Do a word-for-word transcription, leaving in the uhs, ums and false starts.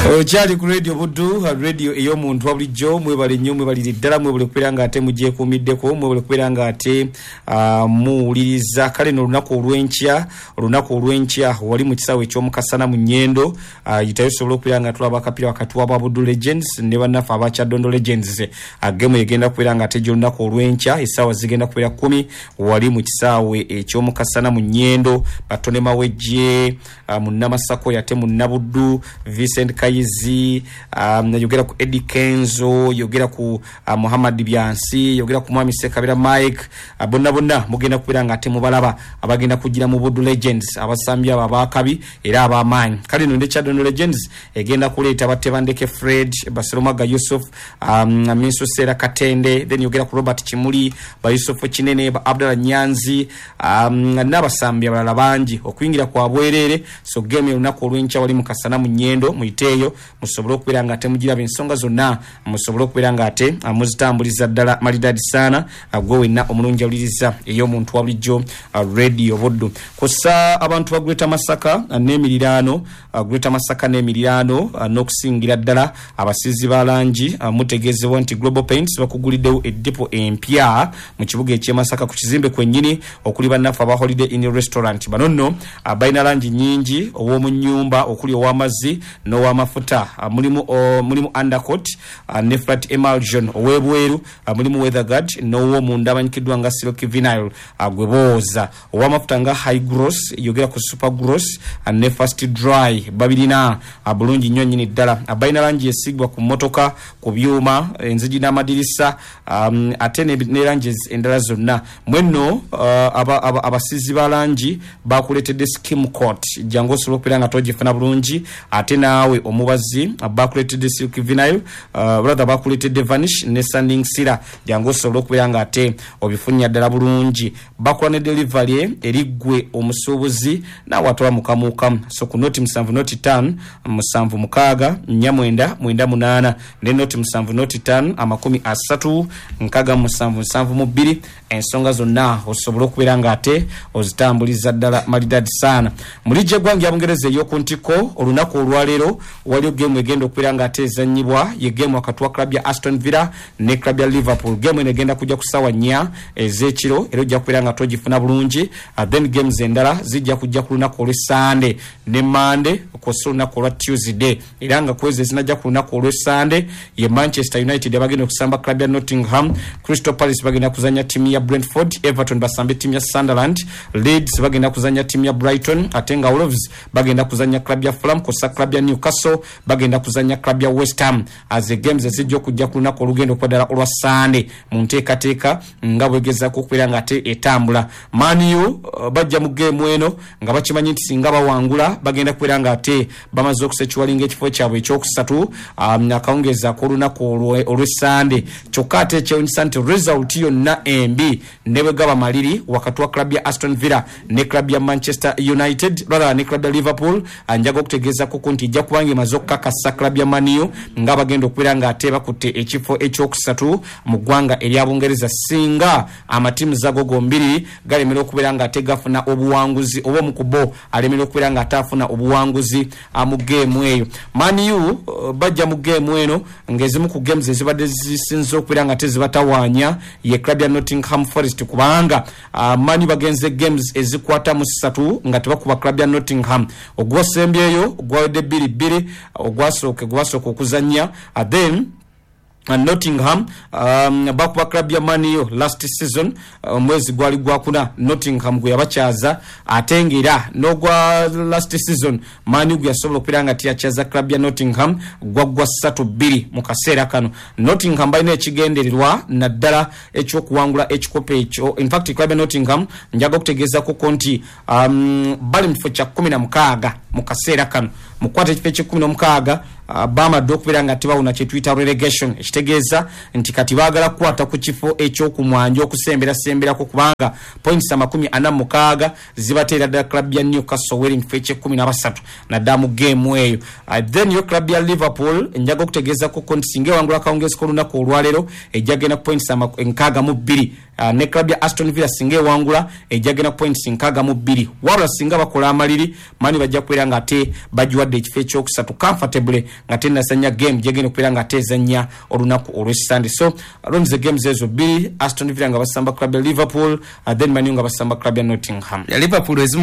Okyali ku Radio Buddu, radio ey'omuntu wa bulijjo. Mwebale nnyo, mwebalire ddala, mwebale kubeera nga ate mugyekuumiddeko, mwebale kubeera nga ate uh, muwuliriza. Kale no olunaku olw'enkya, olunaku olw'enkya wali mu kisaawe eky'omukasana mu Nyendo, uh, yitayo osobola okubeera nga tulaba akapiira wakati wa Buddu Legends ne bannaffe aba Kyadondo Legends. uh, Gemu egenda kubeera nga ate gy'olunaku olw'enkya, essaawa zigenda kubeera kkumi wali mu kisaawe eky'omukasana mu Nyendo. Batone Mawejje, uh, Munnamasako yate Munnabuddu, Vincent Kayizi, um, yogera ku Eddie Kenzo, yogera ku uh, Muhammad Byansi, yogera ku Mwami Sekabira Mike, uh, bonna bonna mugenda kubeera nga ate mubalaba abagenda kugira mu Buddu Legends, abasambi abo abakabi era ab'amaanyi. Kale no ne Kyadondo Legends egenda kuleeta Batebandeke Fred, Baseromaga Yusuf, um, Minsu Sera Katende, then yogera ku Robert Kimuli, ba Yusuf Kinene, ba Abdallah Nyanzi, um, n'abasambi abalala bangi okuyingira kwa bwerere. So game olunaku olw'enkya wali mu Kasana mu Nyendo, muyiteeyo musobole okubeera nga ate mugiraba ensonga zonna, musobole okubeera nga ate muzitambuliza ddala malidadi sana. Gwe wenna omulungi awuliriza ey'omuntu wa bulijjo, Radio Buddu. Kussa abantu ba Greater Masaka n'emiriraano, Greater Masaka n'emiriraano, n'okusingira ddala abasiizi ba langi, mutegeezebwa nti Global Paints bakuguliddewo eddipo empya mu kibuga eky'e Masaka ku kizimbe kwennyini okuli bannaffe aba Holiday Inn Restaurant. Bano nno balina langi nnyingi, ow'omu nnyumba okuli ow'amazzi n'ow'amafuta, mulimu mulimu undercoat ne flat emulsion ow'ebweru, mulimu weatherguard n'ow'omunda amanyikiddwa nga silk vinyl gwe booza, ow'amafuta nga high gloss, yogera ku super gloss ne fast dry, babirina bulungi nnyo nnyini ddala. Balina langi esigwa ku mmotoka, ku byuma, enzigi n'amadirisa, um, ate ne langi endala zonna. Mwenno uh, abasiizi ba langi bakuleetedde skim coat, jangu osobola okubeera nga togifuna bulungi. Ate naawe omubazi bakuleetedde silk vinyl, uh, brother bakuleetedde vanish ne sanding sealer, jangu osobola okubeera nga ate obifunya ddala bulungi. Bakola ne delivery eri ggwe omusuubuzi naawe atwala mukamukamu. So ku noti musanvu noti ttaano musanvu mukaaga nnya mwenda mwenda munaana ne noti musanvu noti ttaano amakumi asatu nkaaga musanvu nsanvu mu bbiri, ensonga zonna osobola okubeera nga ate ozitambuliza ddala malidadi sana. Mu liigi y'eggwanga ya Bungereza ey'oku ntikko, olunaku olwaleero waliyo geemu egenda okubeera nga ate ezannyibwa, ye geemu wakati wa club ya Aston Villa ne club ya Liverpool. Geemu eno egenda kujja ku ssaawa nnya ez'ekiro era ojja kubeera nga togifuna bulungi. uh, then games endala zijja kujja ku lunaku olw'Essande ne Mande kw'ossa olunaku olwa Tuesday, era nga kwezi ezinajja ku lunaku olw'Essande ye Manchester United abagenda okusamba club ya Nottingham, Crystal Palace bagenda kuzannya ttiimu ya Brentford, Everton basambe ttiimu ya Sunderland, Leeds bagenda kuzannya ttiimu ya Brighton, ate nga Wolves bagenda kuzannya club ya Fulham kw'ossa club ya Newcastle bagenda kuzannya club ya West Ham. As the games ezijja okujja ku lunaku olugenda okuba ddala olwa Sande mu nteekateeka nga bwegezaako okubeera nga ate etambula. Man U uh, bajja mu geemu eno nga bakimanyi nti singa bawangula bagenda kubeera nga ate bamaze okusecuwalinga ekifo kyabwe ekyokusatu um, akawungeezi ak'olunaku olw'Essande. Kyokka ate ekyewunyisa nti result yonna embi ne bwe gaba maliri wakati wa club ya Aston Villa ne club ya Manchester United rather ne club ya Liverpool, njaga okutegeezako nti ejja kubanga emaze okukakasa club ya Man U nga bagenda okubeera nga ate bakutte ekifo ekyokusatu mu ggwanga erya Bungereza singa amatiimu zago gombiri galemera okubeera nga ate gafuna obuwanguzi oba omu ku bo alemera okubeera nga ate afuna obuwanguzi mu geemu eyo. Man U bajja mu geemu eno ng'ezimu ku games ezibadde zisinze okubeera nga tezibatawaanya ye club ya Nottingham Forest, kubanga uh, Man U bagenze games ezikwata mu ssatu nga tebakuba club ya Nottingham. Ogwasembyeyo gwawedde bbiri bbiri, ogwasooka gwasooka okuzannya, uh, then Uh, Nottingham um, bakuba club ya Man U last season, omwezi uh, gwali gwakuna Nottingham gwe yabakyaza, ate ng'era n'ogwa last season Man U gwe yasobola okubeera nga tiyakyaza club ya Nottingham gwaggwa ssatu bbiri. Mu kaseera kano Nottingham balina ekigendererwa naddala ekyokuwangula ekikopo ekyo. In fact club ya Nottingham njaga okutegeezako nti um, bali mu kifo kya kkumi na mukaaga mu kaseera kano, mukwata ekifo eky'ekkumi n'omukaaga uh, bamadde okubeera nga tebawona kye tuyita relegation, ekitegeeza nti kati baagala kukwata ku kifo ekyokumwanja okusemberassemberako, kubanga points amakumi ana mu mukaaga zibateera ddala club ya Newcastle weri mu kifo eky'ekkumi na basatu naddala mu geemu eyo. uh, then yo club ya Liverpool njaga okutegeezako nti singa ewangula akawungeezi k'olunaku olwaleero ejja genda ku points nkaaga mu bbiri. uh, ne club ya Aston Villa singa ewangula ejja genda points nkaaga mu bbiri. Wabula singa bakola amaliri, Man U bajja kubeera nga ate bagiwadde ekifo ekyokusatu comfortably nga tennazannya game gyegenda okubeera nga ate ezannya olunaku olw'Essande. So Ronze, games ezo bbiri, Aston Villa nga basamba club ya Liverpool, uh, then Man U nga basamba club ya Nottingham. Ya Liverpool ezimu.